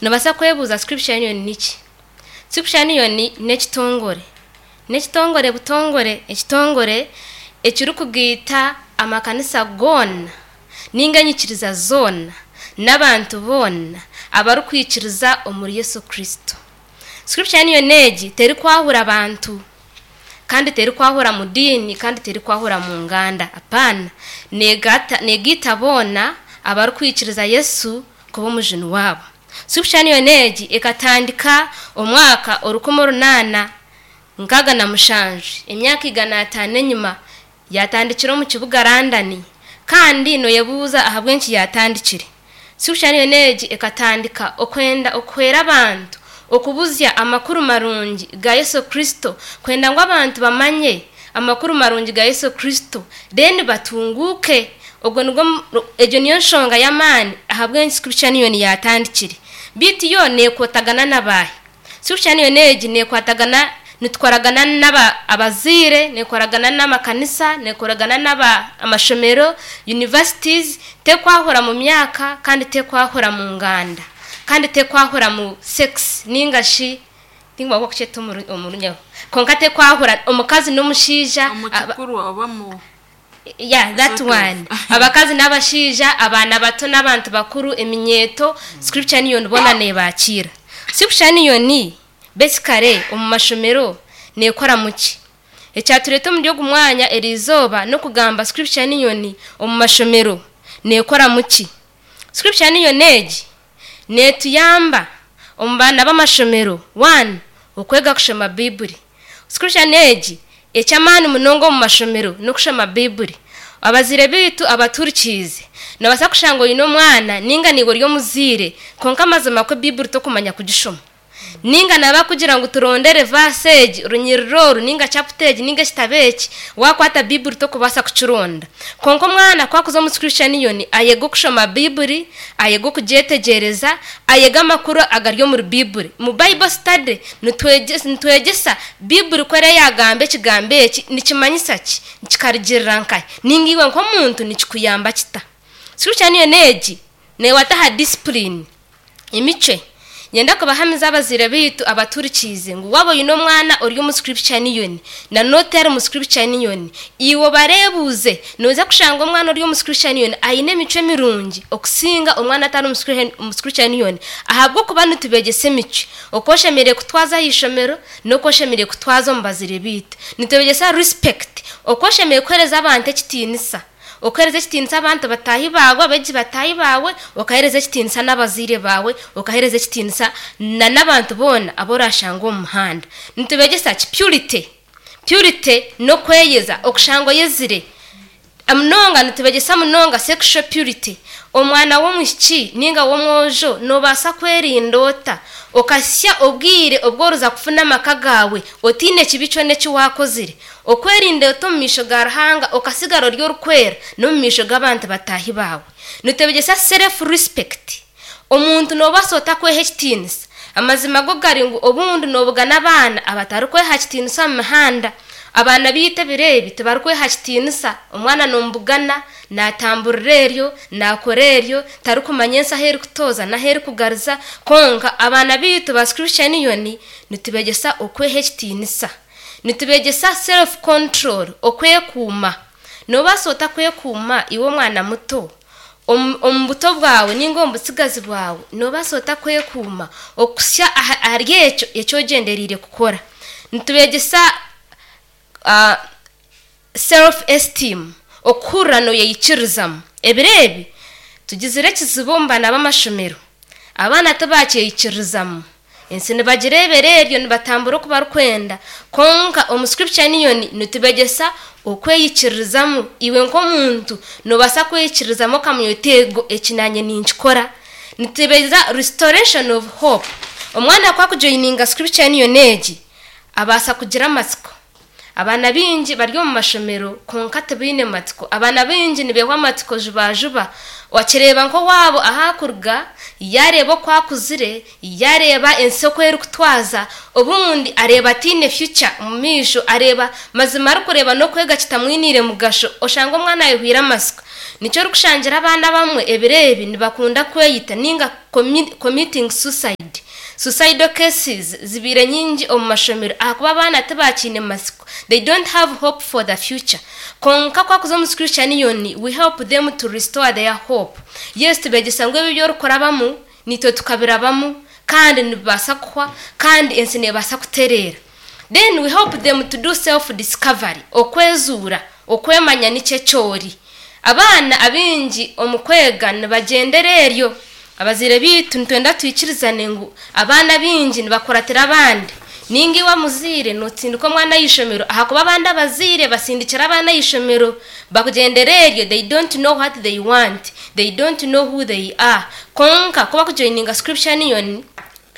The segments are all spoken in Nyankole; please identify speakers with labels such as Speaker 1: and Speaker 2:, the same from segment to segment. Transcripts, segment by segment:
Speaker 1: Noobaasa kwebuuza Scripture Union niki? Scripture Union n'ekitongore. N'ekitongore butongore, ekitongore ekirikugaita amakanisa goona ninga enyikiriza zoona n'abantu boona abarikwikiriza omuri Yesu Kristo. Scripture Union egi terikwahura bantu kandi terikwahura mu diini kandi terikwahura mu nganda. Apaana. Neegata neegaita boona abarikwikiriza Yesu kuba omujuni waabo. Scripture Union egi ekatandika omwaka 1867, emyaka 500 enyima, yaatandikira omu kibuga London. Kandi nooyebuuza ahabw'enki yaatandikire. Scripture Union egi ekatandika okwenda okuhwera abantu okubuzya amakuru marungi ga Yesu Kristo, kwenda ngu abantu bamanye amakuru marungi ga Yesu Kristo, then batunguuke. Ogwo nigwo egyo niyo nshonga y'amaani ahabw'enki Scripture Union yaatandikire. Beitu yo neekwatagana na baahi? Scripture Union egi neekwatagana nitukoragana n'aba abazaire, neekoragana n'amakanisa, neekoragana n'aba amashomero, universities, tekwahura mu myaka kandi tekwahura mu nganda kandi tekwahura mu sex ninga shi tinkuba kukyeta omu runyaho kwonka tekwahura omukazi n'omushaija.
Speaker 2: Omu kikuru oba mu
Speaker 1: Yeah, that
Speaker 2: Sort of.
Speaker 1: one. Abakazi n'abashaija, abaana bato n'abantu bakuru, eminyeeto, Scripture Union boona neebakiira. Scripture Union basically omu mashomero neekora muki? Ekyatureeta omuri ogu mwanya eri izooba n'okugamba Scripture Union omu mashomero neekora muki? Scripture Union egi neetuyamba omu baana b'amashomero, one, okwega kushoma Baibuli. Scripture Union egi eky'amaani munonga omu mashomero n'okushoma Baibuli. Abazaire baitu abatuhurikiize, noobaasa kushanga oine omwana ninga naiwe ori omuzaire kwonka amazima kwo Baibuli tokumanya kugishoma. Ninga naba akugira ngu turondere verse egi, orunyiriri oru, ninga chapter egi, ninga ekitabo eki, waakwata Baibuli tokubaasa kukironda. Kwonka omwana ku akuza omu Scripture Union, ayega okushoma Baibuli, ayega okugyetegyereza, ayega amakuru agari omuri Baibuli. Mu Bible study, nitwegyesa Baibuli ku eriyo yaagamba ekigambo eki, nikimanyisa ki? Kikarugirira nkahi? Ninga iwe nk'omuntu nikikuyamba kita? Scripture Union egi neewata aha discipline. Emicwe. Niinyenda kubahamiza abazaire baitu abatuhurikiize ngu waaba oine omwana ori omu Scripture Union na n'otari mu Scripture Union, iwe obareebuuze, noija kushanga omwana ori omu Scripture Union aine emicwe mirungi okusinga omwana atari omu Scripture Union ahabw'okuba nitubeegyesa emicwe, oku oshemereire kutwaza aha ishomero n'oku oshemereire kutwaza omu bazaire baitu. Nitubeegyesa respect, oku oshemereire kuheereza abantu ekitiinisa. Okaheereza ekitiinisa abantu bataahi baawe, abeegi bataahi baawe, okaheereza ekitiinisa n'abazaire baawe, okaheereza ekitiinisa na n'abantu boona abu oraashanga omu muhanda. Nitubeegyesa ki? Purity. Purity n'okweyeza, okushanga oyezire. Munonga nitubeegyesa munonga sexual purity. Omwana w'omwishiki ninga w'omwojo noobaasa kwerinda ota okahitsya obwire obu orikuza kufuna amaka gaawe otaine kibi kyona eki waakozire? Okwerinda ota omu maisho ga Ruhanga okatsigara ori orikwera n'omu maisho g'abantu bataahi baawe? Nitwegyesa self respect. Omuntu noobaasa ota kweha ekitiinisa? Amazima go gari ngu obundi noobugana abaana abatarikweha kitiinisa omu mihanda. Abaana baitu ebiro ebi tibarikweha kitiinisa. Omwana noomubugana naatamburira eryo, naakora eryo, tarikumanya ensi ahu erikutooza n'ahu erikugariza. Kwonka abaana baitu ba Scripture Union nitubeegyesa okweha ekitiinisa. Nitubeegyesa self control, okwekuuma. Noobaasa ota kwekuuma iwe omwana muto? Omu omu buto bwawe ninga omu butsigazi bwawe noobaasa ota kwekuuma okuhitsya ahari ekyo eki ogyendereire kukora? Nitubeegyesa self esteem, okuhurira nooyeyikiririzamu. Ebiro ebi tugizire ekizibu omu baana b'amashomero, abaana tibakyeyikiririzamu. Ensi nibagireebera eryo nibatambura oku barikwenda. Kwonka omu Scripture Union nitubegyesa okweyikiririzamu. Iwe nk'omuntu noobaasa kweyikiririzamu okamanya oti ego eki naanye ninkikora. Nitubegyesa restoration of hope. Omwana ku akujoininga Scripture Union egi, abaasa kugira amatsiko. Abaana baingi bari omu mashomero kwonka tibaine matsiko. Abaana baingi nibeehwa amatsiko jubajuba. Wakireeba nk'owaabo ahu arikuruga, yaareeba oku akuzire, yaareeba ensi oku erikutwaza, obundi areeba ataine future omu maisho, areeba mazima arikureeba n'okwega kitamwiniire mugasho, oshanga omwana ayehwire amatsiko. Nikyo orikushangira abaana abamwe ebiro ebi nibakunda kweyita ninga committing suicide. Suicidal cases zibaire nyingi omu mashomero ahakuba abaana tibakiine matsiko, they don't have hope for the future. Kwonka ku wakuza omu Scripture Union, we help them to restore their hope. Yes, tubegyesa ngu ebi ebi orikurabamu naitwe tukabirabamu kandi nibibaasa kuhwa kandi ensi neebaasa kutereera. Then we help them to do self discovery, okwezuura, okwemanya niki eki ori. Abaana abaingi omu kwega nibagyendera eryo. Abazaire baitu nitwenda twikirizane ngu abaana abaingi nibakuratira abandi. Ninga iwe omuzaire notsindika omwana aha ishomero ahakuba abandi abazaire batsindikire abaana aha ishomero bakugyendera eryo they don't know what they want, they don't know who they are. Kwonka ku bakujoininga Scripture Union,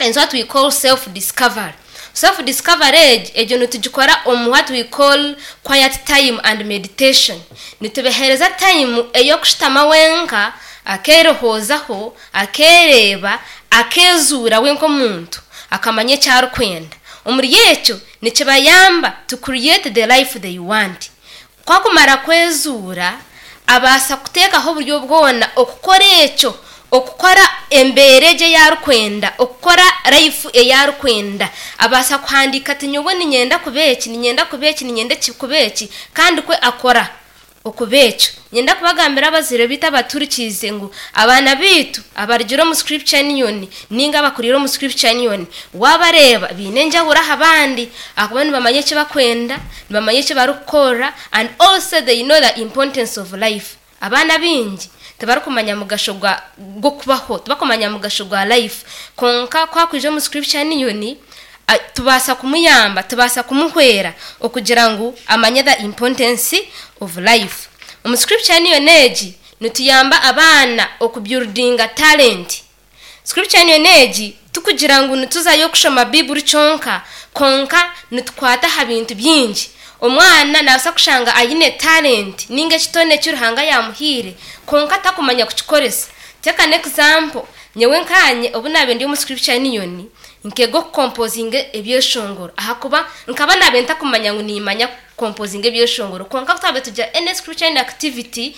Speaker 1: It's what we call self discovery. Self discovery egi egyo nitugikora omu what we call quiet time and meditation. Nitubahereza time ey'okushutama wenka akeerehoozaho, akeereeba, akeezuura we nk'omuntu, akamanya eki arikwenda. Omuri ekyo nikibayamba to create the life they want. Ku akumara kwezuura, abaasa kuteekaho oburyo bwona okukora ekyo, okukora embeera egyo ei arikwenda, okukora life ei arikwenda. Abaasa kuhandiika ati nyowe niinyenda kuba eki, niinyenda kuba eki, niinyenda kuba eki, kandi kwe akora okuba ekyo. Niinyenda kubagambira abazaire baitu abaturikiize ngu abaana baitu abarugire omu Scripture Union ninga abakuriire omu Scripture Union, waabareeba baine enjawulo aha bandi ahakuba nibamanya eki barikwenda, nibamanya eki barikukora and also they know the importance of life. Abaana abaingi tibarikumanya mugasho gwa gw'okubaho, tibakumanya mugasho gwa life. Kwonka ku akwija omu Scripture Union, tubaasa kumuyamba, tubaasa kumuhwera okugira ngu amanye the importance of life. Omu Scripture Union egi, nituyamba abaana okubuildinga talent. Scripture Union egi tikugira ngu nituzayo kushoma Baiburi kyonka, kwonka nitukwata aha bintu bingi. Omwana naabaasa kushanga aine talent ninga ekitone eki Ruhanga yaamuhaire kwonka atakumanya kukikoresa. Take an example, nyowe nkaanye obu naabaire ndi omu Scripture Union, nkeega okukompozinga ebyeshongoro ahakuba nkaba naabaire ntakumanya ngu niimanya kukompozinga ebyeshongoro kwonka ku twabaire tugira any Scripture Union activity,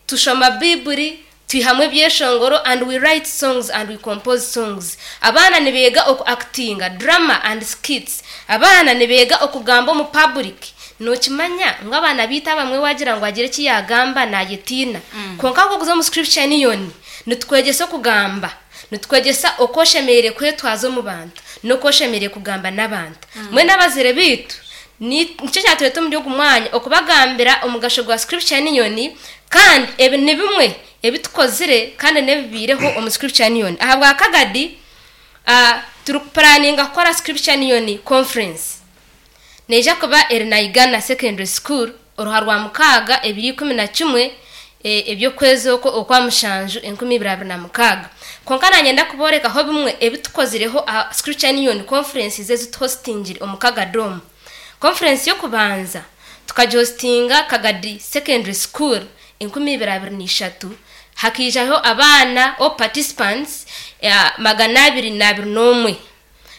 Speaker 1: Tushoma Baiburi, twihamu ebyeshongoro and we write songs and we compose songs. Abaana nibeega oku actinga, drama and skits. Abaana nibeega okugamba omu public. Nokimanya ngu abaana baitu abamwe wagira ngu agire eki yagamba nayetiina. Kwonka ku okuza omu Scripture Union, nitukwegyesa okugamba, nitukwegyesa oku oshemereire kwetwaza omu bantu, n'oku oshemereire kugamba n'abantu. Mbwenu abazaire baitu Nikyo kyatureeta omuri ogu mwanya okubagambira omugasho gwa Scripture Union kandi ebi ni bimwe ebi tukozire kandi n'ebibaireho omu Scripture Union. Ahabwa Kagadi, turikupuraninga kukora Scripture Union Conference. Neija kuba eri Naigana Secondary School oruha Rwamukaaga ebiro 11 eby'okwezi okwo okwa mushanju 2026. Kwonka nanyenda kuboorekaho bimwe ebi tukozireho aha Scripture Union Conferences ezi tuhositingire omu Kagadi omu. Conference y'okubanza tukagihositinga Kagadi Secondary School 2023, hakaijaho abaana or participants 221.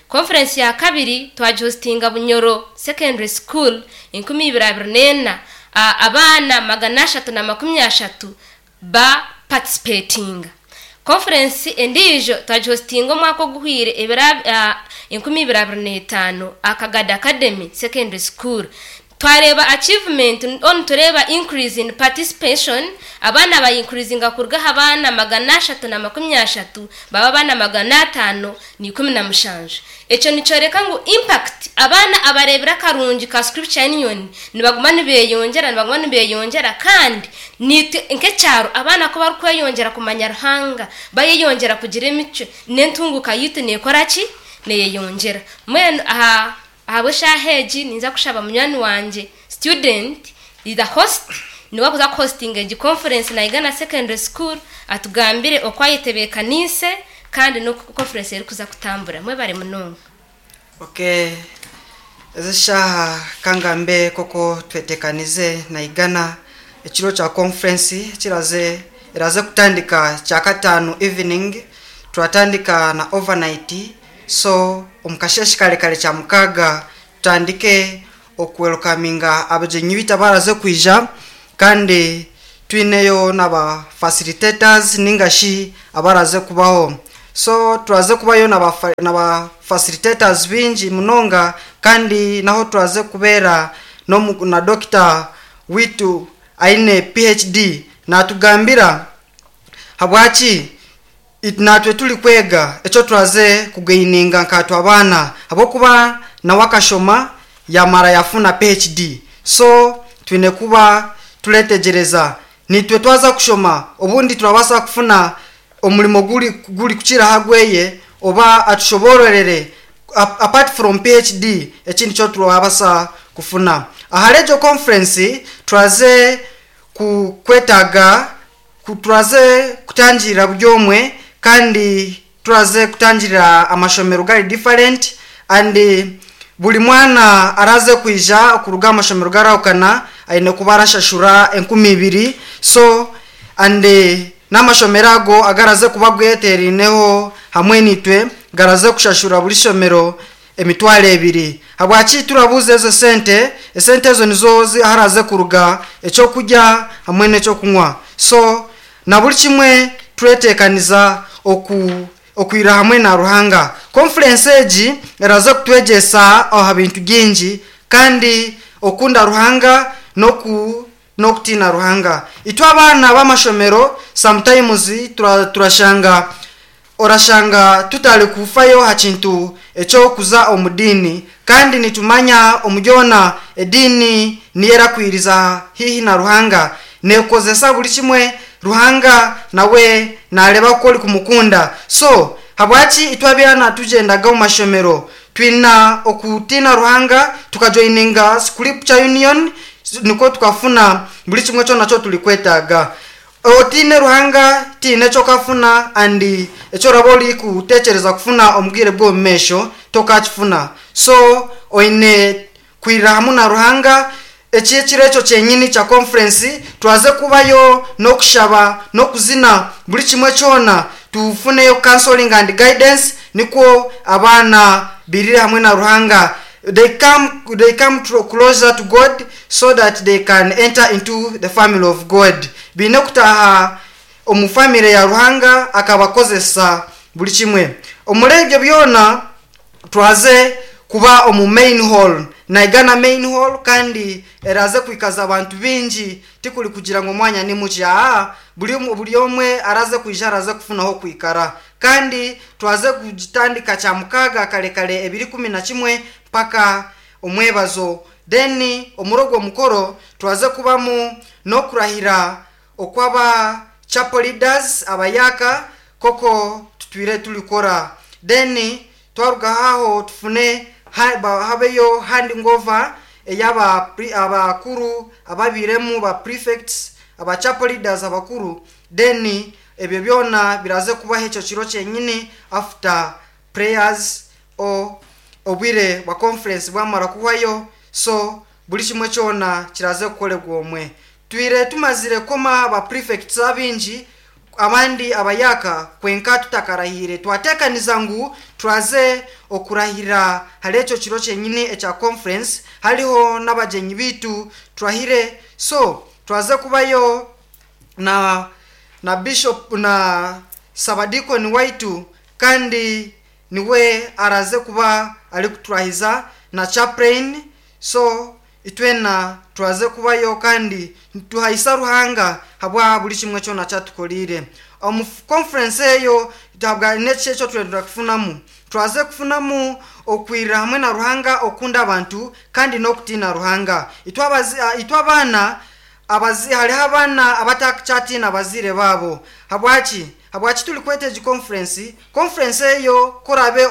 Speaker 1: Conference ya kabiri twagihositinga Bunyoro Secondary School 2024, abaana 330 ba participatinga. Conference endiijo twagihositinga omwaka oguhweire ebiro 2025 aha Kagadi Academy Secondary School. Twareeba achievement or nitureeba increase in participation, abaana ba increasinga kuruga aha baana 330 baaba abaana 517. Ekyo nikyoreka ngu impact, abaana abareebire akarungi ka Scripture Union nibaguma nibeyongyera, nibaguma nibeyongyera kandi naitwe nk'ekyaro abaana ku barikweyongyera kumanya Ruhanga, bayeyongyera kugira emicwe, n'entunguuka yaitu neekora ki? Neyeyongyera. Mbwenu aha Ahabw'eshaaha egi ninza kushaba munywani wangye student is the host niwe akuza kuhostinga egi conference Naigana Secondary School atugambire oku ayetebekaniise kandi n'oku conference erikuza kutambura. Mwebare munonga.
Speaker 2: Ok ezi eshaaha kangambe nk'oku twetekanize Naigana ekiro kya conference ekiraze eraze kutandika kyakataano evening turatandika na overnight So omu kasheeshe kare kare Kyamukaaga tutandike okuwelukaminga abagyenyi baitu abaraze kwija kandi. Twineyo n'aba facilitators ninga shi abaraze kubaho. So turaze kubayo n'aba facilitators bingi munonga, kandi naho turaze kubeera na dokita witu aine PhD natugambira habwaki natwe turi kwega ekyo turaze kugaininga nkatwe abaana, habwokuba nawe akashoma yamara yafuna PhD. So twine kuba turetegereza nitwe twaza kushoma, obundi turabasa kufuna omurimo guri kukira hagweye, oba atushobororere apart from PhD ekindi kyo turabasa kufuna. Ahari egyo conference turaze kwetaga turaze kutangirira buri omwe, kandi turaze kutangirira amashomero gari different, and buri mwana araze kwija kuruga amashomero garahukana aine kuba arashashura 2,000. So and n'amashomero ago agaraze kuba gweterineho hamwe nitwe garaze kushashura buri shomero 2,000. Habwaki turabuze ezo sente? Esente ezo nizo haraze kuruga ekyokurya hamwe n'ekyokunywa. So na buri kimwe turetekaniza okwira hamwe na Ruhanga. Conference egi eraze kutwegyesa aha bintu bingi, kandi okunda Ruhanga n'okutina Ruhanga. Itwe abaana b'amashomero sometimes turashanga orashanga tutari kufayo ha kintu ekyokuza omu diini, kandi nitumanya omuryona ediini niyo erakwiriza hihi na Ruhanga, nekozesa buri kimwe. Ruhanga nawe nareba ko ori kumukunda. So habwaki itwe abaana tugendaga omu mashomero twina okutina Ruhanga, tukajoininga Scripture Union, niko tukafuna buri kimwe kyona kyo turi kwetaaga. Otine Ruhanga tiine ekyokafuna, and ekyo oraba ori kutekyereza kufuna omu bwire bw'omu maisho tokakifuna. So oine kwirira hamwe na Ruhanga. Eki ekiro ekyo kyenyini kya conference turaze kubayo n'okushaba n'okuzina buri kimwe kyona, tufuneyo counseling and guidance, nikwo abaana birire hamwe na Ruhanga. They come closer to God so that they can enter into the family of God. Biine kutaha omu family ya Ruhanga akabakozesa buri kimwe. Omuri ebyo byona turaze kuba omu main hall, naigana main hall, kandi eraze kwikaza abantu bingi, tikuri kugira ngo omwanya ni mukye. Buri omwe araze kwija araze kufunaho kwikara. Kandi turaze kugitandika kya mukaga kare kare 2:11 mpaka omwebazo. Then omuri ogwo mukoro turaze kubamu n'okurahira okw'aba chapel leaders abayaka koko tutwire turikora. Then twaruga aho tufune habeyo handing over ey'aba abakuru ababiremu ba prefects, aba chapel leaders abakuru. Then ebyo byona biraze kubaho ekyo kiro kyenyini after prayers o obwire bwa conference bwamara kuhwayo. So buri kimwe kyona kiraze kukoregwa omwe. Twire tumazire koma ba prefects abingi abandi abayaka kwenka tutakarahire, twatekaniza ngu turaze okurahira hari ekyo kiro kyenyini ekya conference, hariho n'abagyenyi bitu turahire. So turaze kubayo na bishop na sabadikoni waitu, kandi niwe araze kuba ari kuturahiza na chaplain. So itwena turaze kubayo kandi tuhayisa Ruhanga habwa buri kimwe kyona kyatukorire. Omu conference eyo tuhabwa n'eki ekyo turenda kufunamu. Turaze kufunamu okwirira hamwe na Ruhanga, okunda abantu kandi n'okutina Ruhanga. Itwe abaana hariho abaana abatakyatina abazire babo. Habwaki? Habwaki turi kweta egi conference? Conference eyo korabe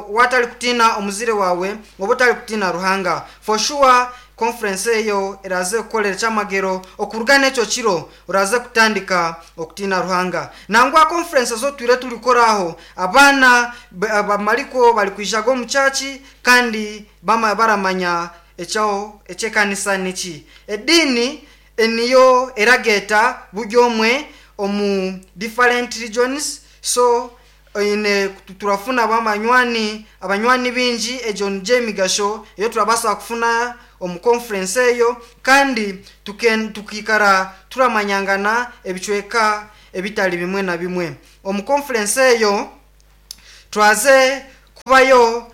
Speaker 2: watari kutina omuzire wawe oba otari kutina Ruhanga, for sure conference eyo eraze kukorera ekyamagero. Okuruga n'ekyo kiro oraze kutandika okutina Ruhanga. Nangwa conference zo twire turikoraho abaana bamariko bari kwijaga omu church, kandi baramanya ekyaho ekyekanisa niki. Ediini niyo erageta buri omwe omu different regions. So ine turafuna abanywani bingi, egyo niyo emigasho eyo turabasa kufuna omu conference eyo kandi tukikara turamanyangana ebicweka ebitari bimwe na bimwe. Omu conference eyo twaze kubayo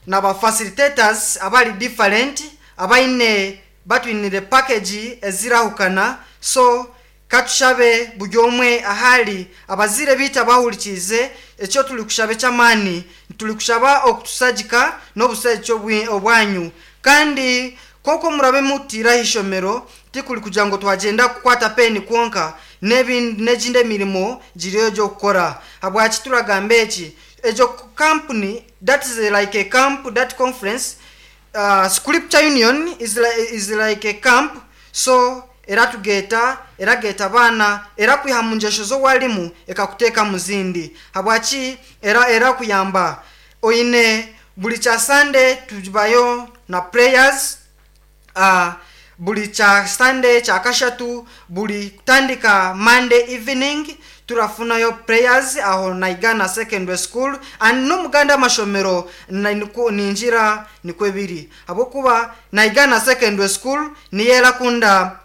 Speaker 2: naba facilitators abari different abaine batwinire package ezirahukana. So katushabe buri omwe ahari abazire biita bahurikize ekyo turi kushaba eky'amaani, turi kushaba okutusagika n'obusagiki obwanyu. Kandi koko murabe mutira ishomero tikuri kugira ngo twagenda kukwata peni kwonka, n'egindi emirimo giriyo gy'okukora. Habwaki turagamba eki? Egyo company that is like a camp, that conference, Scripture Union is like a camp. So eratugeta, erageta abaana, erakwiha mu ngyesho z'owarimu ekakuteeka mu zindi. Habwaki erakuyamba? Oine buri kya Sunday tubayo na prayers, buri kya Sunday kya kashatu, buri kutandika Monday evening turafunayo prayers aho Naigana Secondary School and n'omuganda amashomero ningira nikwo biri. Habwokuba Naigana Secondary School niyo erakunda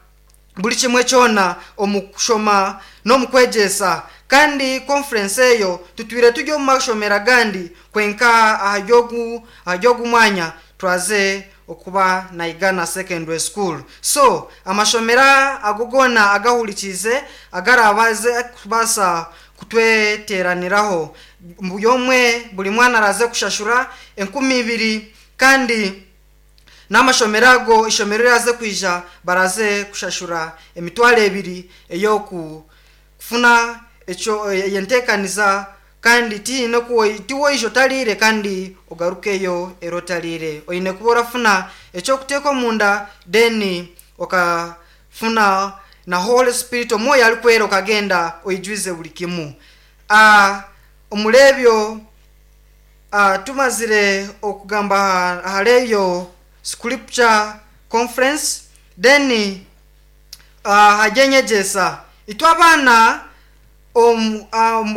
Speaker 2: buri kimwe kyona omu kushoma n'omu kwegyesa. Kandi conference eyo tutwire turi omu mashomero agandi kwenka ahari mwanya twaze okuba Naigana Secondary School. So amashomero ago goona agahurikize agarabaze kubaasa kutweteraniraho, buri omwe buri mwana araze kushashura 2,000, kandi n'amashomero ago ishomero riraze kwija baraze kushashura 2,000 ey'okufuna ekyo yenteekaniza. Kandi tiine tiwoija otarire kandi ogarukeyo era otarire, oine kuba orafuna ekyokuteeka omunda, then okafuna na Holy Spirit, omwoyo arikwera, okagenda oijwize buri kimu. Omuri ebyo tumazire okugamba ahari eyo Scripture Conference, then hajya enyegyesa. Itwe abaana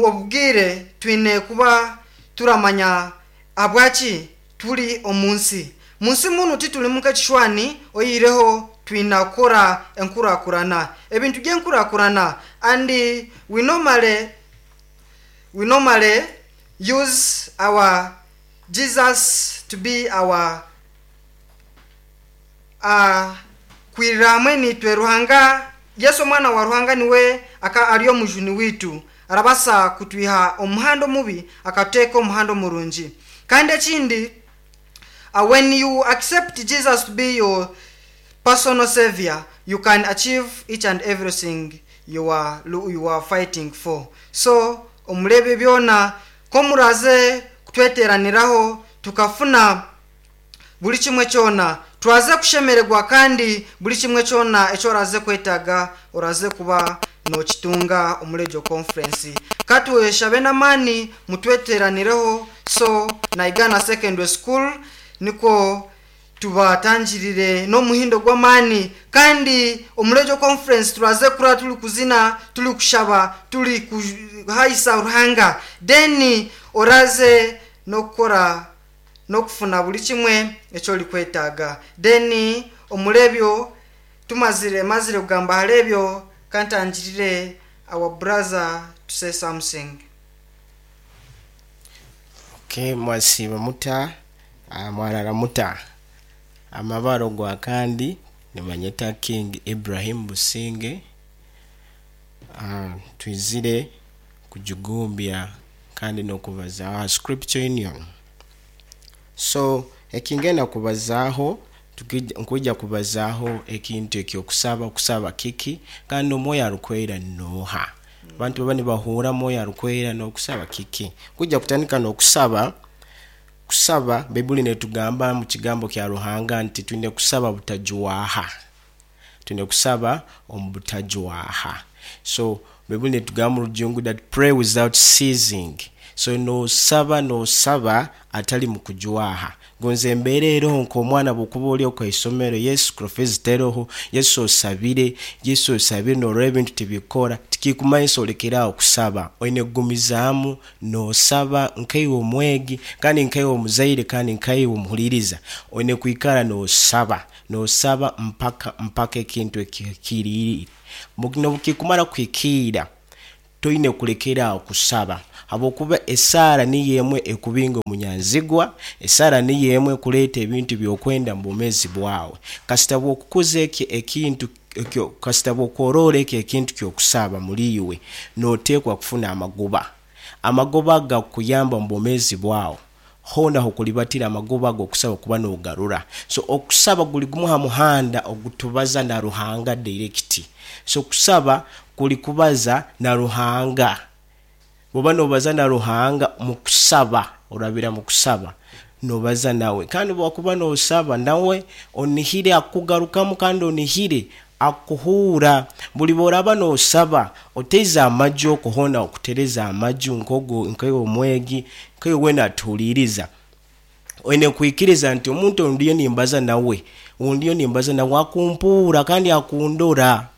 Speaker 2: obwire twine kuba turamanya ahabwaki turi omu nsi. Mu nsi munu titurimu nk'ekishwani, oyihireho twine kukora enkurakurana, ebintu by'enkurakurana. And we normally use our Jesus to be our kwirira hamwe nitwe. Ruhanga Yesu omwana wa Ruhanga niwe aka ari omujuni witu, arabasa kutwiha omuhanda omubi akateeka omuhanda omurungi. Kandi ekindi, when you accept Jesus to be your personal savior, you can achieve each and everything you are fighting for. So omurebe byona ko muraze kutweteraniraho tukafuna buri kimwe kyona, twaze kushemererwa, kandi buri kimwe kyona ekyo oraze kwetaga oraze kuba nokitunga omuri egyo conference. Katweshabe n'amaani mutweteranireho. So Naigana Secondary School niko tubatangirire n'omuhindo gw'amaani. Kandi omuri egyo conference turaze kura turi kuzina, turi kushaba, turi kuhayisa Ruhanga, then oraze n'okukora n'okufuna buri kimwe ekyo ori kwetaaga. Then omuri ebyo tumazire mazire kugamba ahari ebyo, kantangirire our brother to say something.
Speaker 3: Okay, mwasiiba muta? Mwarara muta? Amabaro gwa kandi nibanyeta King Ibrahim Businge. Twizire kugigumbya kandi n'okubazaaho aha Scripture Union. So ekingenda kubazaaho, nkwija kubazaaho ekintu ekyokusaba, okusaba kiki, kandi omwoyo arukwera nooha? Abantu baba nibahuura mwoyo arukwera n'okusaba kiki. Kwija kutandika n'okusaba. Kusaba, Baibuli netugamba mu kigambo kya Ruhanga nti twine kusaba butajwaha, twine kusaba omu butajwaha. So Baibuli netugamba mu Rujungu that pray without ceasing. So nosaba nosaba atali mukujwaha. Gonza embeera eroho nk'omwana bwokuba ori okwa isomero, yes school fees teroho, yes osabire, yes osabire norora ebintu tibikukora, tikikumanyisa olekere aho kusaba. Oine kugumizaamu nosaba nkaiwe omwegi kandi nkaiwe omuzaire kandi nkaiwe omuhuririza. Oine kwikara nosaba, nosaba mpaka mpaka ekintu ekihikiriire. Nobukikumara kuhikiira, Toine kulekera aho kusaba, habwokuba esaara niyo emwe ekubinga omunyanzigwa, esaara niyo emwe ekuleeta ebintu by'okwenda mu bwomeezi bwawe. Kasita bw'okukuza ekyo ekintu, ekyo, kasita bw'okworora ekyo ekintu ky'okusaba muli iwe, noteekwa kufuna amagoba. Amagoba agakukuyamba mu bwomeezi bwawe. Hoona h'okulibatira amagoba ag'okusaba kuba nogarura. So okusaba guli gumu ha muhanda ogutubaza na Ruhanga direct. So kusaba kuli kubaza na Ruhanga. Bwoba nobaza na Ruhanga mu kusaba, orabira mu kusaba, nobaza nawe. Kandi obwokuba nosaba nawe onihire akukugarukamu kandi onihire Akuhuura. Buli bw'oraaba noosaba, oteize amaju okwo hoona okutereza amaju nk'ogu nkaiwe omwegi, nkaiwe weena atuhuliiriza. Oine kwikiriza nti omuntu ou ndiyo nimbaza nawe, ou ndiyo nimbaza nawe akumpuura kandi akundora.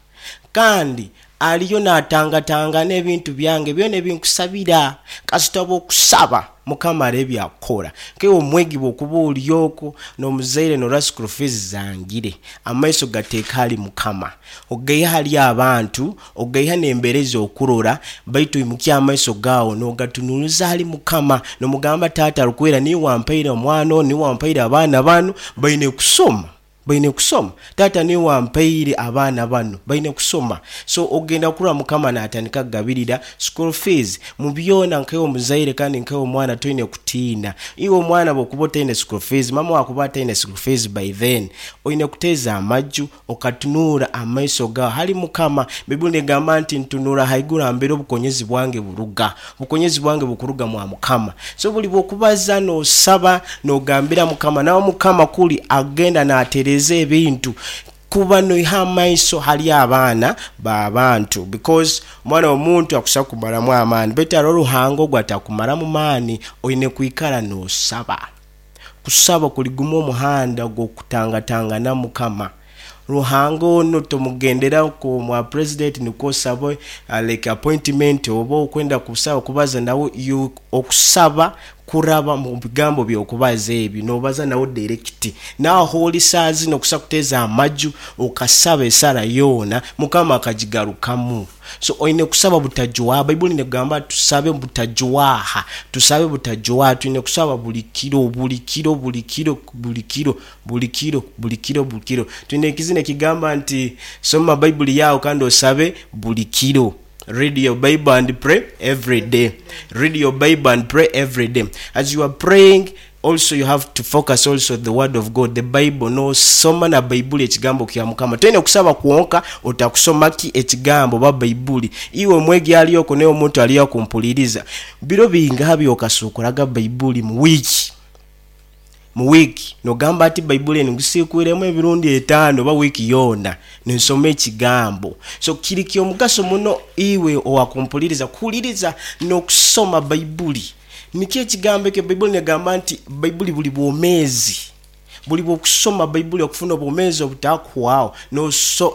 Speaker 3: Kandi aliyo naatangatangana ebintu byange byona ebi nkusabira. Kasita bw'okusaba, Mukama areebe ebyakukora. Nkaiwe omwegi bw'okuba ori okwo n'omuzaire norora school fees zangire, Amaiso gateeke hali Mukama, ogaihe hali abantu, ogaiha n'embeera ezi okurora, baitu oimukye amaiso gaawe n'ogatunuuliza hali Mukama, n'omugamba, Taata arukwera, niiwe wampaire omwana onu, niiwe wampaire abaana banu, baine kusoma, baine kusoma. Taata niiwe wampaire abaana banu, baine kusoma. So ogenda kurora Mukama naatandika kugabirira school fees. Mu byona nkaiwe omuzaire kandi nkaiwe omwana toine kutiina. Iwe omwana bwokuba otaine school fees, mama wawe akuba ataine school fees by then oine kuteeza amaju okatunuura amaiso gawe hali Mukama. Baibuli negamba nti ntunuura haiguru hambere obukonyezi bwange buruga. Obukonyezi bwange bukuruga mwa Mukama. So buli bwokubaza nosaba nogambira Mukama nawe Mukama kuli agenda natereeza ebintu. Kuba noiha amaiso hali abaana babantu because omwana womuntu akusa kumaramu amaani baitu haroho Ruhanga ogu atakumaramu maani oine kwikara nosaba. Kusaba kuli gumu omuhanda gwokutangatangana mukama. Ruhanga onu tomugendera nko mwa president nikwo osabe like appointment oba okwenda kusaba kubaza nawe you okusaba Kuraba mu bigambo by'okubaza ebyo, noobaza nawe direkiti. N'aho ori saaha zinu okusa kuteeza amaju okasaba esara yoona, Mukama akagigarukamu. So oine kusaba butajwaha. Baibuli negamba tusabe butajwaha, tusabe butajwaha. Twine kusaba buli kiro, buli kiro, buli kiro, buli kiro, buli kiro, buli kiro, buli kiro. Twine ekizina ekigamba nti soma Baibuli yaawe kandi osabe buli kiro. Read your Bible and pray every day. Read your Bible and pray every day. As you are praying, also you have to focus also the word of God, the Bible. Nosoma na Baibuli ekigambo kya Mukama. Toine kusaba kwonka otakusoma ki ekigambo oba Baibuli. Iwe omwegi ali okwo naye omuntu ali akumpuliriza, biro bingaha byokasuukuraga Baibuli mu wiiki? Mu wiiki nogamba ati Baibuli enu ngisiikwiremu emirundi etaano oba wiiki yoona ninsoma ekigambo. So kiri ky'omugaso muno iwe owakumpuliriza kuhuliriza n'okusoma Baibuli. Nikyo ekigambo ekyo Baibuli negamba nti Baibuli buli bwomeezi. Buli bw'okusoma Baibuli okufuna obwomeezi obutakuhwaho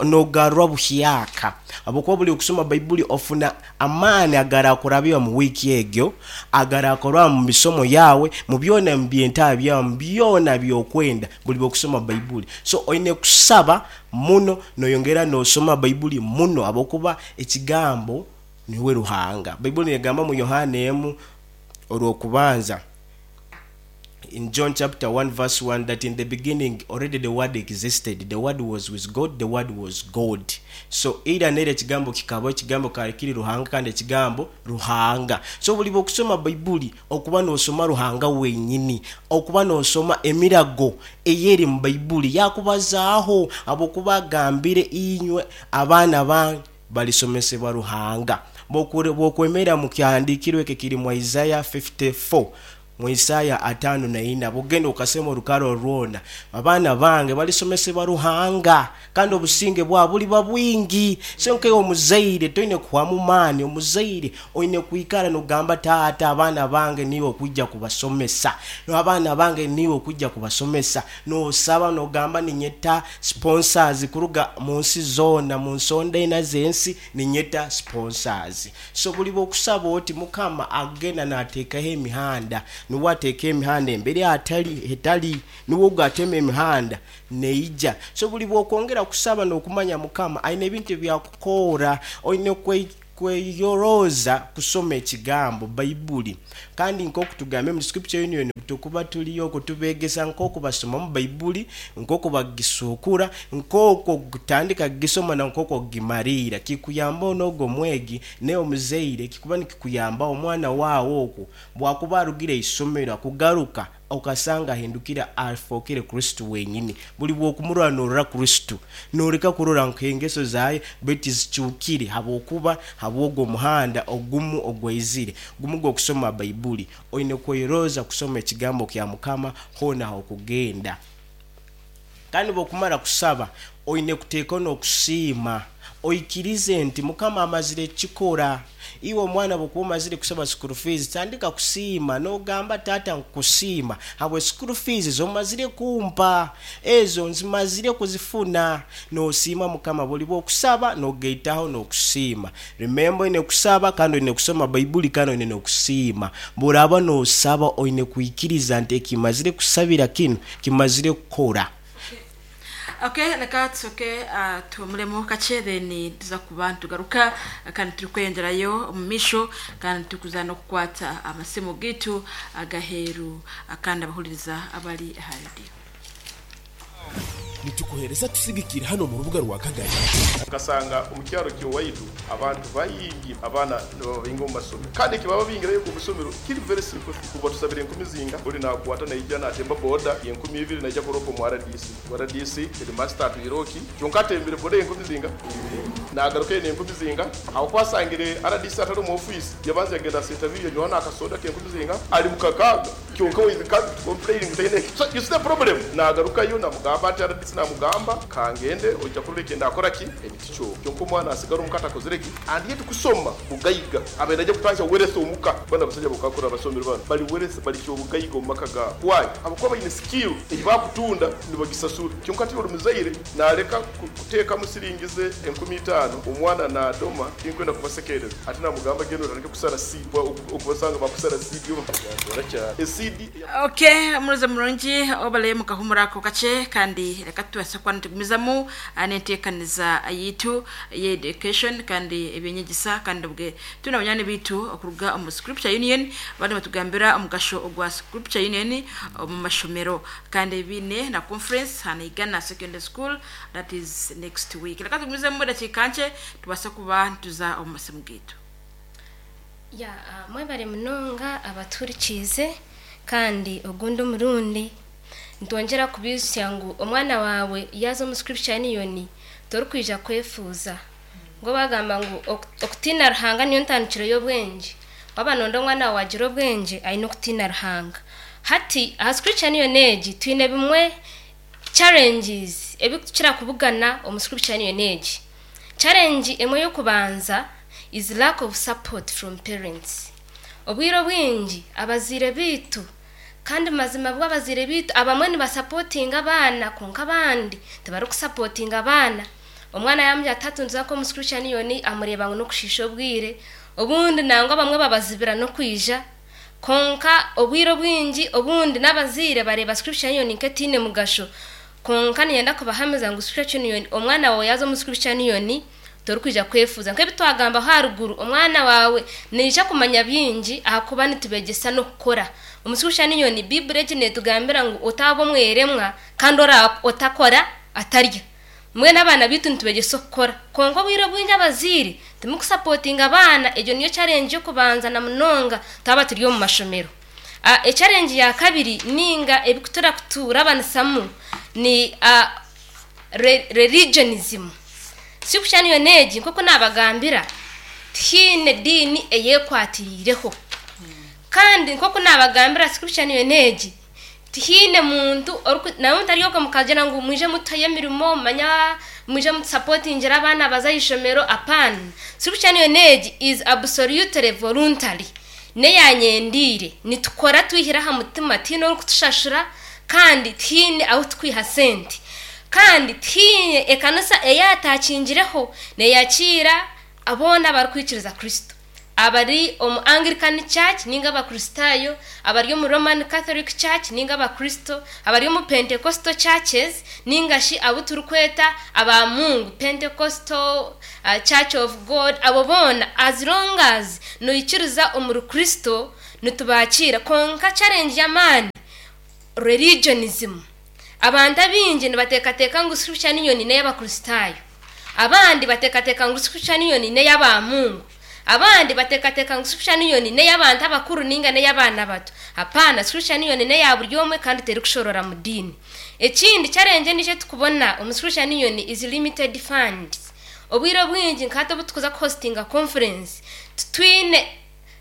Speaker 3: nogarurwa buhyaka. Habwokuba buli okusoma Baibuli ofuna Amaani agarakurabya omu wiiki egyo, agarakorwa mu misomo yaawe, mu byona mu by'entaaha byawe, mu byona by'okwenda, buli bw'okusoma Baibuli. So oine kusaba muno noyongera n'osoma Baibuli muno habwokuba Ekigambo niwe Ruhanga. Baibuli negamba mu Yohaana emu orw'okubanza, in John chapter 1 verse 1 that in the beginning already the word existed, the word was with God, the word was God. So eira neira ekigambo kikabaho, ekigambo kikaba kiri Ruhanga kandi ekigambo Ruhanga. So buli bwokusoma Baibuli okuba nosoma Ruhanga wenyini, okuba nosoma emirago eyeri mu Baibuli yakubazaaho habwokuba agambire inywe abaana bange balisomesebwa Ruhanga. Bwokwemera mu kyahandiikirwe eki ekiri mu Isaiah 54. Mu Isaaya 54, bw'ogenda okasoma orukaro rwona, Abaana bange balisomesebwa Ruhanga, kandi obusinge bwabo buliba bwingi. So nkaiwe omuzaire toine kuhwamu maani, omuzaire oine kwikara nogamba, Taata, abaana bange niiwe okwija kubasomesa, abaana bange niiwe okwija kubasomesa. Nosaba nogamba, ninyeta sponsors kuruga mu nsi zoona, mu nsonda ina z'ensi, ninyeta sponsors. So buli bw'okusaba oti Mukama agenda nateekaho emihanda, nuwe ateeka emihanda embere ahatali etali, nuwe ogu atema emihanda neija. So buli bw'okwongera kusaba n'okumanya Mukama aine ebintu ebyakukoora, oine kweyorooza kusoma ekigambo, Baibuli. Kandi nk'oku tugambire omu Scripture Union tukuba turi okwo tubeegesa nk'oku basomamu Baibuli, nk'oku bagisuukura, nk'oku okutandika kugisoma na nk'oku okugimariira. Kikuyambaho n'ogwo omwegi naye omuzaire kikuba nikikuyambaho omwana waawe okwo bwakuba arugire eisomero akugaruka okasanga ahindukire afookere Kristo wenyini. Buli bw'okumurora norora Kristo. Noreka kurora nk'engeso zaye baitu tizikyukire habwokuba habw'ogwo omuhanda ogumu ogwaizire gumu gw'okusoma Baibuli. Oine kweyorooza kusoma Ekigambo kya Mukama hoona ah'okugenda. Kandi bw'okumara kusaba, oine kuteekaho n'okusiima. Oikirize nti Mukama amazire kukikora. Iwe omwana bw'okuba omazire kusaba school fees, tandika kusiima n'ogamba, Taata nkukusiima habwe school fees z'omazire kumpa. Ezo nzimazire kuzifuna. N'osiima Mukama buri bw'okusaba n'ogaitaho n'okusiima. Remember oine kusaba kandi oine kusoma Baibuli kandi oine n'okusiima. Bw'oraaba n'osaba oine kwikiriza nti ekimazire kusabira kinu kimazire kukora.
Speaker 4: Okay, reka tusooke tuhumuremu kakye then tuza kuba nitugaruka kandi turikweyongyerayo omu maisho kandi turikuza n'okukwata amasimu gaitu ag'aheeru kandi abahuririza abari aha rediyo.
Speaker 5: Nitukuhereza tusigikire hanu omu rubuga rwa Kagari.
Speaker 6: Nkasanga omu kyaro ky'owaitu abantu baingi abaana nibababinga omu masomero kandi ekibababingirayo omu isomero kiri very simple, kubatusabira enkumi zinga ori nakwata naija natemba boda y'enkumi ibiri naija kuropa omu RDC, RDC headmaster atwire oki kyonka atembire boda y'enkumi zinga nagarukayo n'enkumi zinga aho ku asangire RDC atari omu ofiisi yabanza yagenda Sentabiri yanywaho n'akasoda k'enkumi zinga ari mu kakaaga. Kyonka we can't complain ngu taine eki. So you see the problem? Nagarukayo namugamba nti RDC namugamba kangende oija kurora ekindakora ki emiti kyo. Kyonka omwana asigara omuka atakozire ki and yet kusoma bugaiga abaire naija kutandika wealth omuka. Banu abasaija bokakura abasomire banu bari wealth bari kyobugaiga omu maka gaabo. Why? Habwokuba baine skill eyi bakutunda nibagisasura. Kyonka hati ori muzaire naleka kuteekamu siringi ze 5,000 omwana nadoma tinkwenda kubasekereza ati namugamba genda otandike kusara seed okubasanga bakusara seed oba
Speaker 4: Ok omurozi murungi obare mukahumura ako kakye kandi reka tubaase kuba nitugumizamu n'enteekaniza yaitu y'education kandi eby'enyegyesa kandi obwe turi na banywani baitu okuruga omu Scripture Union bariyo nibatugambira omugasho ogwa Scripture Union omu mashomero kandi baine na conference aha Naigana Secondary School that is next week. Reka tugumizemu edakiika nkye tubaase kuba nituza omu masimu gaitu.
Speaker 1: Ya mwebare munonga abatuhurikiize kandi ogundi omurundi nitwongyera kubaijutsya ngu omwana waawe yaaza omu Scripture Union torikwija kwefuuza. Ngu bagamba ngu okutiina Ruhanga niyo ntandikiro y'obwengye. Waaba nooyenda omwana waawe agire obwengye aine okutiina Ruhanga. Hati aha Scripture Union egi twine bimwe challenges ebi tukira kubugana omu Scripture Union egi. Challenge emwe y'okubanza is lack of support from parents. Obwire obwingi abazaire baitu kandi mazima bwo abazaire baitu abamwe nibasapotinga abaana kwonka abandi tibarikusapotinga abaana. Omwana yaamugira ati hati nituza nk'omu Scripture Union amureeba ngu n'okushiisha obwire, obundi nangwa abamwe babazibira n'okwija. Kwonka obwire obwingi obundi n'abazaire bareeba Scripture Union nk'etaine mugasho. Kwonka niinyenda kubahamiza ngu Scripture Union, omwana waawe yaaza omu Scripture Union torikwija kwefuuza. Nk'ebi twagambaho aharuguru, omwana waawe naija kumanya bingi ahakuba nitubeegyesa n'okukora. Omu Scripture Union, Baiburi egi neetugambira ngu otaaba omweremwa kandi otakora atarya. Mbwenu abaana baitu nitubegyesa okukora. Kwonka obwire obwingi abazaire timukusapotinga abaana, egyo niyo challenge y'okubanza na munonga twaba turi omu mashomero. Echallenge ya kabiri ninga ebikutura kuturabanisamu ni religionism. Scripture niyo n'egi nk'oku nabagambira, tihaine diini eyekwatiriireho. Kandi nk'oku naabagambira scripture niyo n'egi, tihaine muntu nawe mutaryoka mukagira ngu mwije mutuheyo emirimo, manya mwije mutusapotingire abaana baze aha ishomero, apaana. Scripture niyo n'egi is absolutely voluntary. N'eyanyendiire. Nitukora twihire aha mutima, tihaine orikutushashura kandi tihaine ahu tukwiha sente. Kandi tihaine ekanisa eyatakingireho neeyakiira boona abarikwikiriza Kristo. Abari omu Anglican Church ninga Abakristaayo, abari omu Roman Catholic Church ninga Abakristo, abari omu Pentecostal Churches ninga shi abu turikweta aba Mungu, Pentecostal Church of God, abo boona as long as noikiriza omuri Kristo nitubakiira. Kwonka challenge y'amaani, religionism. Abantu abaingi nibateekateeka ngu Scripture Union n'ey'Abakristaayo. Abandi bateekateeka ngu Scripture Union n'ey'aba Mungu. Abandi bateekateeka ngu Scripture Union n'ey'abantu abakuru ninga n'ey'abaana bato. Apaana, Scripture Union n'eya buri omwe kandi terikushorora mu diini. Ekindi challenge endiijo ei turikubona omu Scripture Union is limited funds. Obwire obwingi nka hati obu turikuza kuhostinga conference, titwine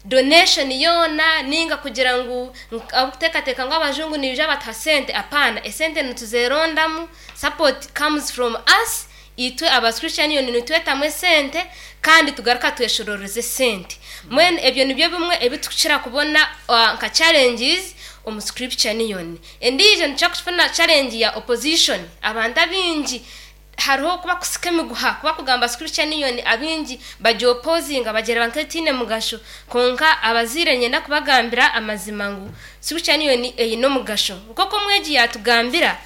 Speaker 1: donation yoona ninga kugira ngu ahabw'okuteekateeka ngu abajungu nibaija batuha sente, apaana, esente nituzerondamu, support comes from us, itwe aba Scripture Union nitwetamu esente kandi tugaruka tweshororeza esente. Mbwenu ebyo nibyo bimwe ebi turikukira kubona nka challenges omu Scripture Union. Endiijo nitukira kufuna challenge ya opposition, abantu abaingi hariho oku bakusika emiguha ku bakugamba Scripture Union abaingi bagyopozinga bagyereba nk'etaine mugasho kwonka abazaire niinyenda kubagambira amazima ngu Scripture Union eine omugasho. Nk'oku omwegi yaatugambira,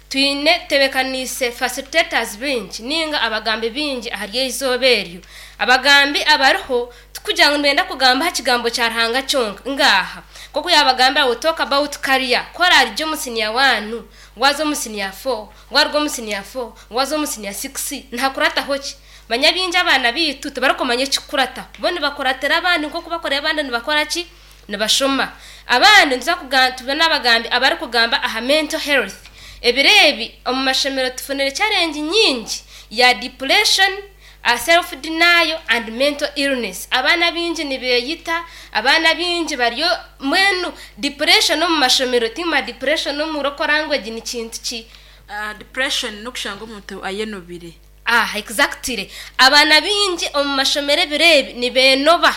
Speaker 1: twine tutebeekaniise facilitators baingi ninga abagambi baingi ahari eizooba eryo. Abagambi abariho tikugira ngu nibenda kugamba aha kigambo kya Ruhanga kyonka, ngaaha. Nk'oku yaabagambira we talk about career, ku oraarugye omu senior one waaza omu senior four, Waruga omu siniya fo, waza omu siniya sikisi, nihakurataho ki? Manya baingi abaana baitu tibarikumanya ekikukurataho. Bo nibakuratira abandi nk'oku bakureba abandi nibakora ki? Nibashoma. Abandi nituza kugamba tube n'abagambi abarikugamba aha mental health. Ebiro ebi omu mashomero tufunire challenge nyingi ya depression, self denial and mental illness. Abaana abaingi nibeyita, abaana abaingi bari mbwenu depression omu mashomero tima depression omu local language ni kintu ki?
Speaker 4: Depression n'okushanga omuntu ayenobire.
Speaker 1: Ah exactly. Abaana baingi omu mashomero ebiro ebi nibenoba.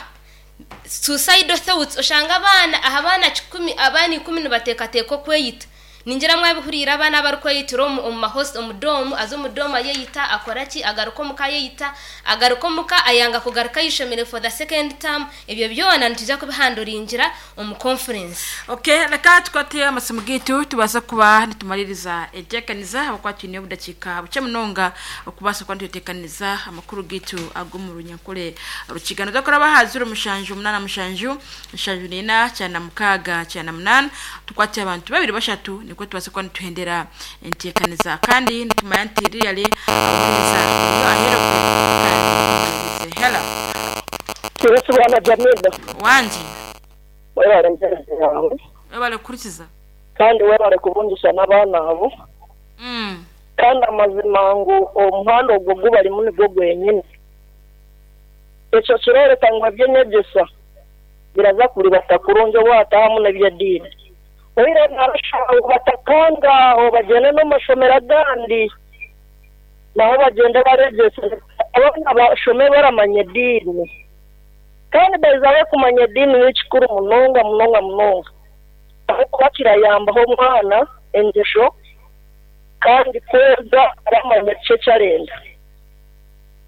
Speaker 1: Suicidal thoughts oshanga abaana aha baana kikumi abaana ikumi nibateekateeka okweyita. Ningira mwabihuriire abaana abarikweyitira omu omu mahosi omu doomu aza omu doomu ayeyita akora ki agaruka omuka ayeyita agaruka omuka ayanga kugaruka aha ishomero for the second term ebyo byona nitwija kubihanduringira omu conference.
Speaker 4: Ok reka tukwate amasimu gaitu tubaase kuba nitumaririza enteekaniza ahabw'okuba twine obudakiika bukye munonga okubaasa kuba nitweteekaniriza amakuru gaitu ag'omu Runyankore Rukiga. Noza kuraba aha ziro mushanju munaana mushanju 74 96 98 tukwate abantu babiri bashatu nikwo tubaase kuba nituhendera enteekaniza kandi nitumanya nti really abuhuriza buriyo aheerokwe kandi ohuriize. Hello.
Speaker 7: Yesu bwana Jamila.
Speaker 4: Wangi.
Speaker 7: Webale empereza yawe.
Speaker 4: Webale kuhurikiza.
Speaker 7: Kandi webale kubungisa n'abaana abo. Kandi amazima ngu omuhanda ogwo ogu barimu nigwo gwenyine. Ekyo kiroreka ngu eby'enyegyesa biraza kuribata kurungi obu hatahamu n'eby'ediini. Oihireho naarashaba ngu batakanga aho bagyende n'omu mashomero agandi naho bagyende baregyese abaana bashome baramanya ediini. Kandi by the way kumanya ediini ni kikuru munonga munonga munonga ahabw'okuba kirayambaho omwana engyesho kandi kwega aramanya kiki eki arenda.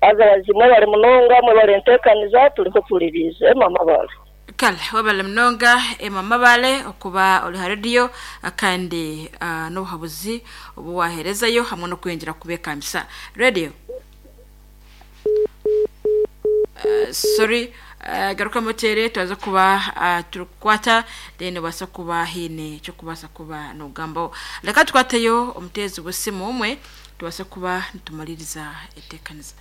Speaker 7: Haza bazi mwebare munonga mwebare entekaniza turiho tuririize Emma Mabale.
Speaker 4: Kale webale munonga Emma Mabale okuba ori ha rediyo kandi n'obuhabuzi obu waherezayo hamwe n'okweyongyera kubekambisa. Radio. Sorry garukamu oteere twaza kuba turikukwata then obaase kuba haine eky'okubaasa kuba nogambaho. Reka tukwateyo omuteezi w'esimu omwe Tubaase kuba nitumaririza enteekaniza.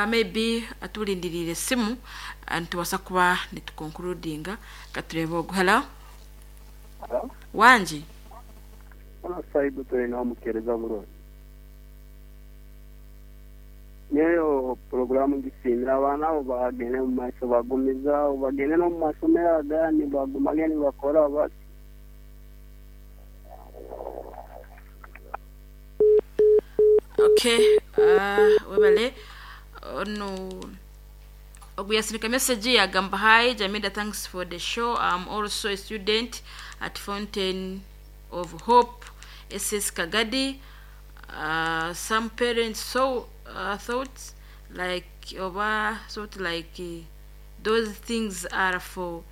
Speaker 4: Maybe turindiriire esimu nitubaasa kuba nitu concludinga. Ka tureebe ogu. Hello?
Speaker 8: Hello?
Speaker 4: Wangi?
Speaker 8: Saibu turi nawe omukeereza burungi. Nyowe puroguraamu ngisiimire abaana abo bagende omu maisho bagumize aho bagende n'omu mashomero agandi bagumage nibakora bati.
Speaker 4: Okay, webale ono ogu yasindika message yagamba hi Jamida thanks for the show I'm also a student at Fountain of Hope SS Kagadi some parents so thought like oba thought like those things are for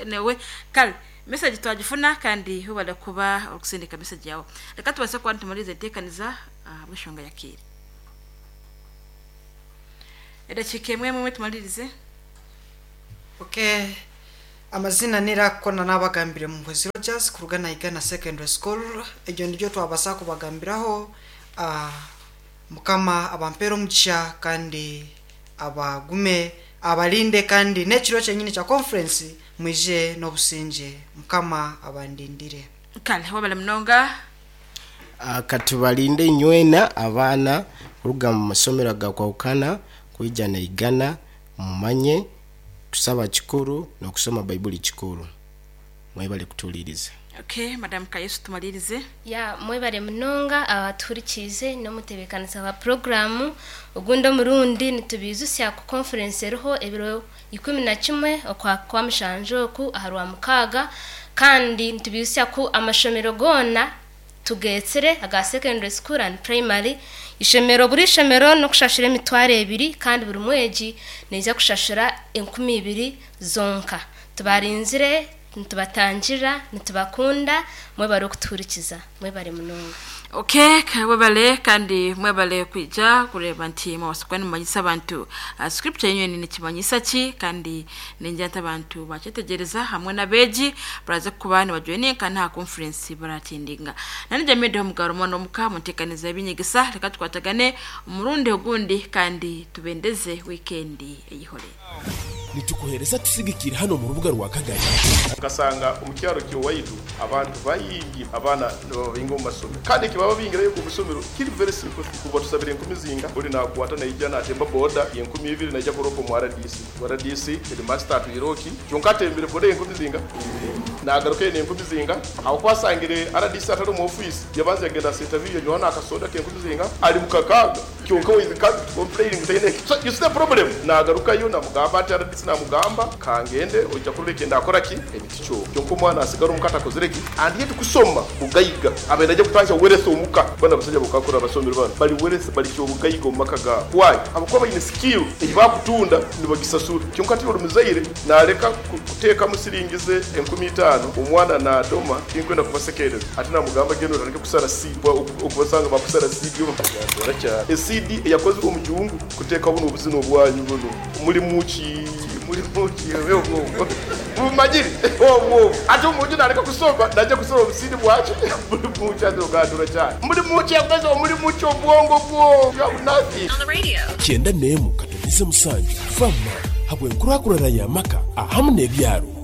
Speaker 4: anyway kale message twagifuna kandi webale kuba okusindika message yawe reka tubase kuba nitumariza enteekaniza ahabw'enshonga ya kiire edakiika emwe emwe tumalirize
Speaker 2: Okay. Amazina nirakona nabagambire Muhwezi Rogers kuruga Naigana Secondary School. Egyo niryo twabasa kubagambiraho Mukama abampere omugisha kandi abagume abalinde kandi n'ekiro kyenyini kya conference mwije n'obusingye. Mukama abandindire.
Speaker 4: Kale wabale munonga.
Speaker 3: Katubalinde inywena abaana kuruga mu masomero agakwahukana kwija Naigana mumanye kusaba kikuru n'okusoma Baibuli kikuru. Mwebale kutuhuliriza.
Speaker 4: Okay, Madam Kayesu tumalirize.
Speaker 1: Ya mwebale munonga abatuhurikiize n'omutebeekanisa wa puroguraamu ogundi omurundi nitubaijutsya ku conference eriho ebiro 11 okwa kwa mushanju oku aha rwamukaaga kandi nitubaijutsya ku amashomero goona tugeetsire aga secondary school and primary ishomero buri ishomero n'okushashura emitwaro ebiri kandi buri mwegi naija kushashura 2000 zonka. Tubarinzire nitubatangira nitubakunda mwebale okutuhurikiza mwebale munonga.
Speaker 4: Okay, mwebale kandi mwebale kwija kureba nti mwabasa kuba nimumanyisa abantu scripture union nikimanyisa ki kandi ningira nti abantu bakyetegereza hamwe n'abeegi baraza kuba nibajoininga kandi aha conference baratendinga. Nani Jamie Omugaro omwana omuka munteekaniza y'ebinyegesa reka tukwatagane omurundi ogundi kandi tubendeze weekend eyihore.
Speaker 5: Nitukuhereza tusigikire hano mu rubuga rwa Kagari.
Speaker 6: Nkasanga omu kyaro ky'owaitu abantu baingi abaana nibababinga omu masomero kandi ekibaba bingirayo omu isomero kiri very simple kuba tusabire enkumi zinga ori nakwata naija natemba boda y'enkumi ibiri naija kuropa omu RDC RDC headmaster atwire oki kyonka atembire boda y'enkumi zinga nagaruka eine enkumi zinga aho ku asangire RDC atari omu office yabanza yagenda asenta viyo yanywaho n'akasoda k'enkumi zinga ari mu kakaaga kyonka we is can't complain ngu taine so you see the problem nagarukayo namugamba ati RDC namugamba kangende oija kurora eki ndakora ki emiti kyo kyonka omwana asigara omuka atakozire ki and yet kusoma bugaiga abaire naija kutandika wealth omuka banu abashaija bokakura abasomire banu bari wealth bari kyobugaiga omu maka gaabo why ahabw'okuba baine skill ei bakutunda nibagisasura kyonka hati ori muzaire nareka kuteekamu siringi ze 5000 omwana nadoma tinkwenda kubasekereza ati namugamba genda otandike kusara CD okubasanga bakusara CD omu CD eyakozirwe omu jungu kuteekaho bunu obuzina obwanyu bunu muri muki muri muki obwo mumanyire obwo ati omuntu nareka kusoma naija kusoma obusidi bwaki muri muki ati ogandura cyane muri muki yakoze muri muki obwongo bwo you have nothing
Speaker 5: Kyenda n'emu katonize musanju fama habw'enkurakurana y'amaka ahamu n'ebyaro.